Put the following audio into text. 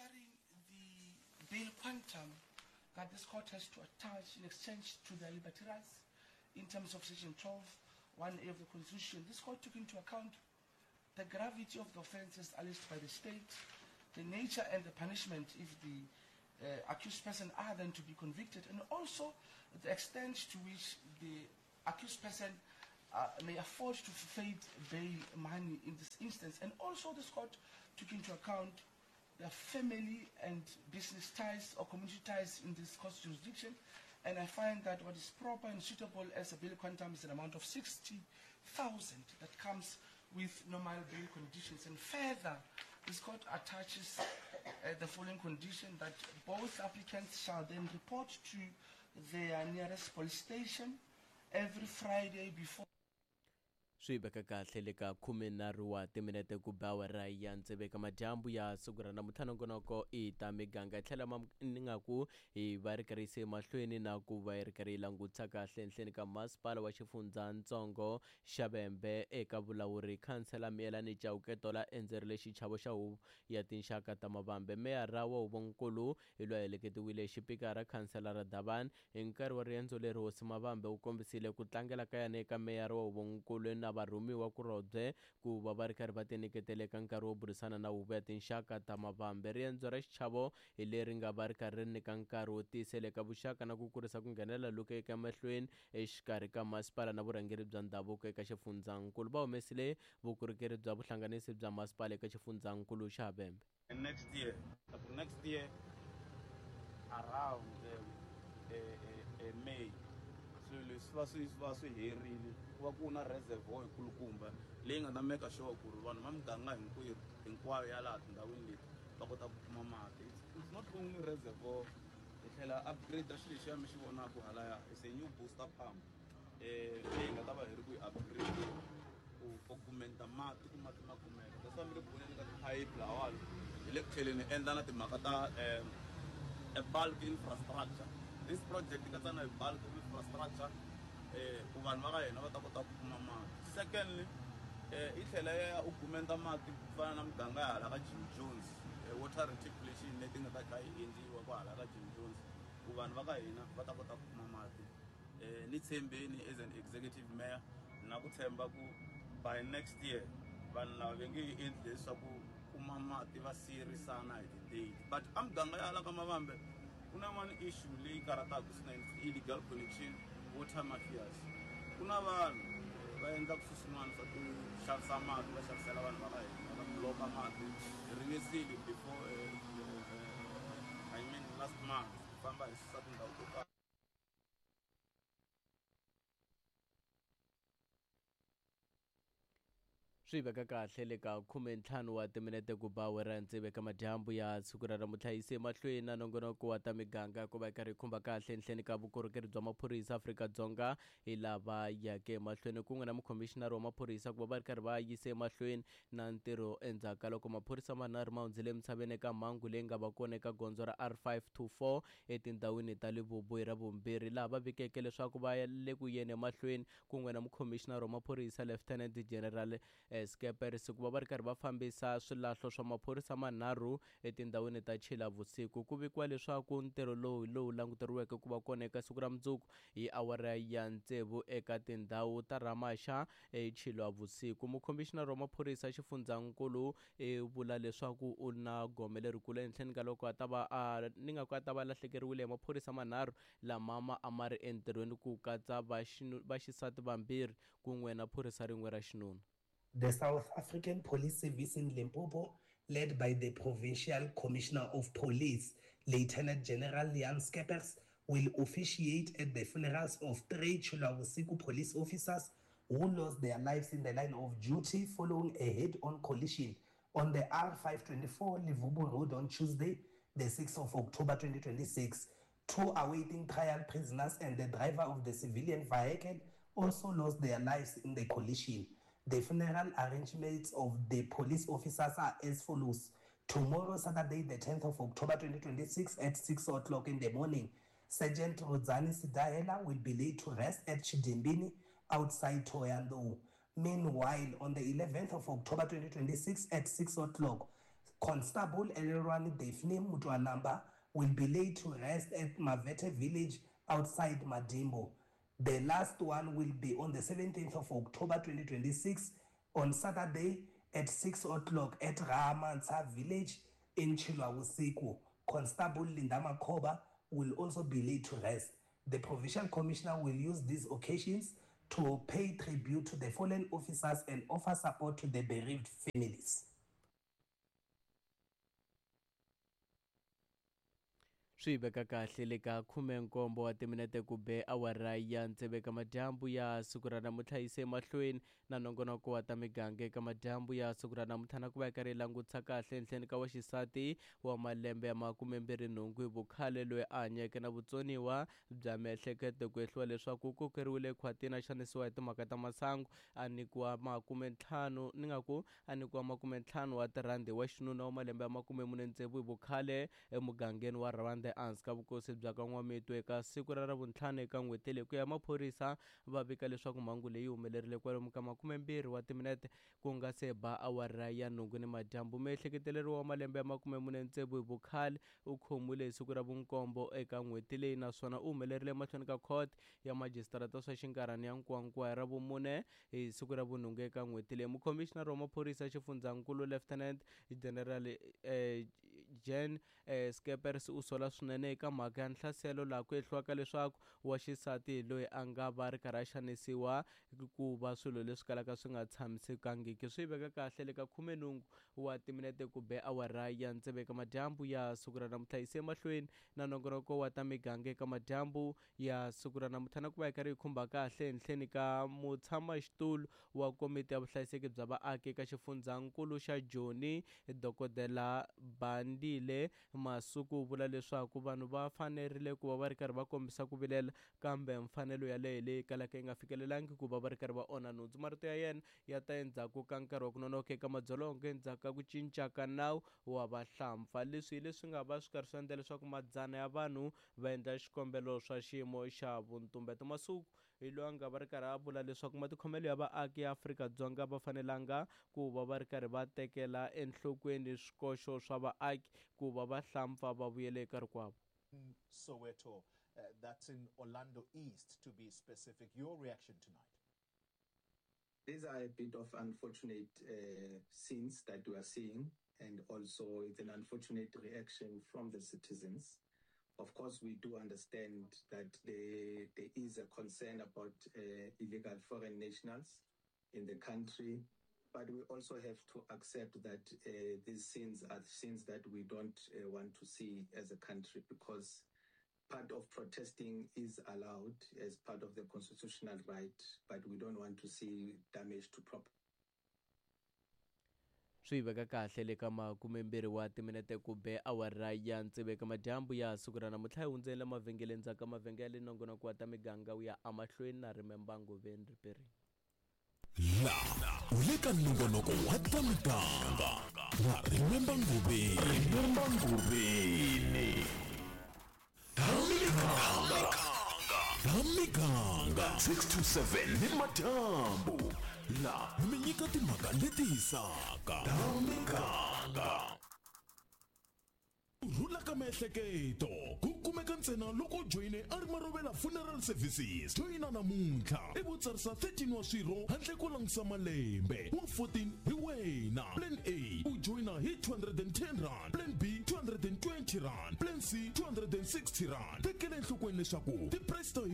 Considering the bail quantum that this court has to attach in exchange to their liberty rights in terms of Section 12, 1A of the Constitution, this court took into account the gravity of the offences alleged by the state, the nature and the punishment if the accused person are then to be convicted, and also the extent to which the accused person may afford to forfeit bail money in this instance. And also this court took into account the family and business ties or community ties in this court's jurisdiction. And I find that what is proper and suitable as a bail quantum is an amount of 60,000 that comes with normal bail conditions. And further, this court attaches the following condition, that both applicants shall then report to their nearest police station every Friday before Swi veka kahle le ka 13 wa timinete ku ba awara ya tsevu eka madyambu ya siku ra namuntlha. Nongonoko i ta miganga yi tlhela ni nga ku hi va ri karhi yise emahlweni na ku va yi ri karhi yi langutisa kahle enhleni ka masipala wa xifundzatsongo xa Vhembe eka vulawuri. Khansela Miyelani Chauke Tola endzerile xichavo xa huvo ya tinxaka ta Mavambe. Meyara wa huvonkulu hi loyi a heleketiwile xipikara khanselara Davani. Hi nkarhi wa riendzo leri hosi Mavambe u kombisile ku tlangela ka yena eka meyara wa huvonkulu na varhumiwa kulobye ku va va ri karhi va tinyiketela eka nkarhi wo burisana na huvo ya tinxaka ta Mavambe. Riendzo ra xichavo hi leri nga va ri karhi ri nyika nkarhi wo tiyisela eka vuxaka na ku kurisa ku nghenelela loku eka mahlweni exikarhi ka masipala na vurhangeri bya ndhavuko eka xifundzankulu. Va humesile vukorhokeri bya vuhlanganisi bya masipala eka xifundzankulu xa Vhembe. Next year, next year around May, swilo leswi va swi va swi herile, ku va ku na reservoir kulukumba leyi nga ta make sure ku ri vanhu va muganga hinkwerhu hinkwayo ya laha tindhawini leti va kota ku kuma mati. It's not only reservoir, hi tlhela upgrade xilo lexiya mi xi vonaka halaya, is a new booster pump leyi nga ta va hi ri ku yi upgrade ku augmenta mati ku mati ma kumeka. That's why mi le ku voneni ka tiphayiphi lahawani, hi le ku tlheleni endla na timhaka ta a bulk infrastructure. This project yi katsa na hi bulk infrastructure ku vanhu va ka hina va ta kota ku kuma mati. Secondly, yi tlhela ya augmenta mati ku fana na muganga ya hala ka Jim Jones, water reticulation leti nga ta kha yi endliwa ku hala ka Jim Jones ku vanhu va ka hina va ta kota ku kuma mati. Ni tshembeni as an executive mayor na ku tshemba ku by next year vanhu lava va nge endli leswaku kuma mati va siyerisana hi ti-date. But a muganga ya hala ka Mavambe ku na one issue leyi karhataka swinene, illegal connection, water mafias. Ku na vanhu va endlaka swilo swin'wana swa ku xavisa mati, va xavisela vanhu va ka hina, va block-a mati. Hi ringesile before, I mean last month, ku famba hi susa tindhawu to karhi. Swi veka kahle le ka 15 wa timinete ku ba awara tsevu eka madyambu ya siku ra namuntlha. Yise emahlweni na nongonoko wa ta miganga ku va yi karhi yi khumba kahle enhleni ka vukorhokeri bya maphorisa Afrika-Dzonga hi lava yake emahlweni kun'we na mukhomixinari wa maphorisa ku va va ri karhi va yise emahlweni na ntirho endzhaku ka loko maphorisa manharhu ma hundzile emisaveni eka mhangu leyi nga va kona eka gondzo ra R524 etindhawini ta Levubu hi Ravumbirhi, laha va vikeke leswaku va le ku yeni emahlweni kun'we na mukhomixinari wa maphorisa Lieutenant General Scheepers ku va va ri karhi va fambisa swilahlo swa maphorisa manharhu etindhawini ta Chilavusiku. Ku vikiwa leswaku ntirho lowu hi lowu languteriweke ku va kona eka siku ra mundzuku hi awara ya tsevu eka tindhawu ta Ramasha eChilavusiku. Mukhomixinari wa maphorisa xifundzankulu i vula leswaku u na gome lerikulu ehenhleni ka loko a ta va a ni nga ku a ta va lahlekeriwile hi maphorisa manharhu lama ma a ma ri entirhweni ku katsa vaxisati vambirhi kun'we na phorisa rin'we ra xinuna. The South African Police Service in Limpopo, led by the Provincial Commissioner of Police, Lieutenant General Jan Scheepers, will officiate at the funerals of 3 Tshilwavhusiku police officers who lost their lives in the line of duty following a head-on collision on the R524 Levubu Road on Tuesday, the 6th of October 2026. 2 awaiting trial prisoners and the driver of the civilian vehicle also lost their lives in the collision. The funeral arrangements of the police officers are as follows. Tomorrow, Saturday, the 10th of October 2026 at 6 o'clock in the morning, Sergeant Rodzani Sidahela will be laid to rest at Chidimbini outside Thohoyandou. Meanwhile, on the 11th of October 2026 at 6 o'clock, Constable Elelwani Daphne Mutwanamba will be laid to rest at Mavete village outside Madimbo. The last one will be on the 17th of October 2026 on Saturday at 6 o'clock at Ramansa village in Chilwausiku. Constable Linda Makoba will also be laid to rest. The provincial commissioner will use these occasions to pay tribute to the fallen officers and offer support to the bereaved families. Swi veka kahle le ka 17 wa timinete ku be awara ya tsevu eka madyambu ya siku ra namuntlha. Yise emahlweni na nongonoko wa ta miganga eka madyambu ya siku ra namuntlha, na ku va yi karhi yi langutisa kahle enhleni ka wa xisati wa malembe ya 28 hi vukhale loyi a hanyeke na vutsoniwa bya miehleketo, ku ehliwa leswaku u kokeriwile khwatini a xanisiwa hi timhaka ta masangu, a nyikiwa 50 ni nga ku a nyikiwa 50 wa tirhandi wa xinuna wa malembe ya 46 hi vukhale emugangeni wa Rwanda ehansi ka vukosi bya ka N'wamitwe eka siku ra Ravuntlhanu eka n'hweti leyi. Ku ya maphorisa va vika leswaku mhangu leyi humelerile kwalomu ka 20 wa timinete ku nga se ba awara ya 8 ni madyambu. Miehleketeleriwa wa malembe ya 46 hi vukhale u khomiwile hi siku ra vunkombo eka n'hweti leyi, naswona u humelerile emahlweni ka court ya majisitarata swa xinkarhana ya Nkowankowa hi Ravumune hi siku ra vunhungu eka n'hweti leyi. Mukhomixinari wa maphorisa xifundzankulu Lieutenant General Jan Skeepers u sola swinene eka mhaka ya nhlaselo laha ku ehliwaka leswaku wa xisati loyi a nga va ri karhi a xanisiwa ku va swilo leswi kalaka swi nga tshamisekangiki. Swi veka kahle le ka 18 wa timinete ku be awara ya tsevu eka madyambu ya siku ra namuntlha. Yise emahlweni na nongonoko wa ta miganga eka madyambu ya siku ra namuntlha, na ku va yi karhi yi khumba kahle henhleni ka mutshamaxitulu wa komiti ya vuhlayiseki bya vaaki eka xifundzankulu xa Joni, Dokodela Bandile Masuku, u vula leswaku vanhu va fanerile ku va va ri karhi va kombisa ku vilela, kambe mfanelo yaleyo leyi kalaka yi nga fikelelangi ku va va ri karhi va onha nhundzu. Marito ya yena ya ta endzhaku ka nkarhi wa ku nonoka eka madzolonga endzhaku ka ku cinca ka nawu wa vahlampfa. Leswi hi leswi nga va swi karhi swi endla leswaku madzana ya vanhu va endla xikombelo swa xiyimo xa vuntumbeto. Masuku hi loyi a nga va ri karhi a vula leswaku matikhomelo ya vaaki ya Afrika-Dzonga va fanelanga ku va va ri karhi va tekela enhlokweni swikoxo swa vaaki ku va vahlampfa va vuyele eka rikwavo. Soweto, that's in Orlando East to be specific. Your reaction tonight? These are a bit of unfortunate scenes that we are seeing, and also it's an unfortunate reaction from the citizens. Of course, we do understand that there is a concern about illegal foreign nationals in the country, but we also have to accept that these scenes are scenes that we don't want to see as a country, because part of protesting is allowed as part of the constitutional right, but we don't want to see damage to property. Swi veka kahle le ka 20 wa timinete ku be awara ya tsevu eka madyambu ya siku ra namuntlha. Hi hundzela mavhengeleni ndzhaku ka mavhengele nongonoko wa ta miganga wu ya emahlweni na Remember Ngoveni Riperini. La u le ka nongonoko wa ta miganga na Remember Ngoveni. Remember Ngoveni. Ta miganga. Ta miganga 6 to 7 ni madyambu. La mi nyika timhaka leti hisaka. Ta miganga. Ku rhula ka miehleketo ku kumeka ntsena loko u joyine a ri Marovela Funeral Services. Joyina namuntlha i vo tsarisa 13 wa swirho handle ko langutisa malembe. Wa 14 hi wena. Plan A u joyina hi 210 rand, Plan B 220 rand, Plan C 260 rand. Tekela enhlokweni leswaku ti-price ta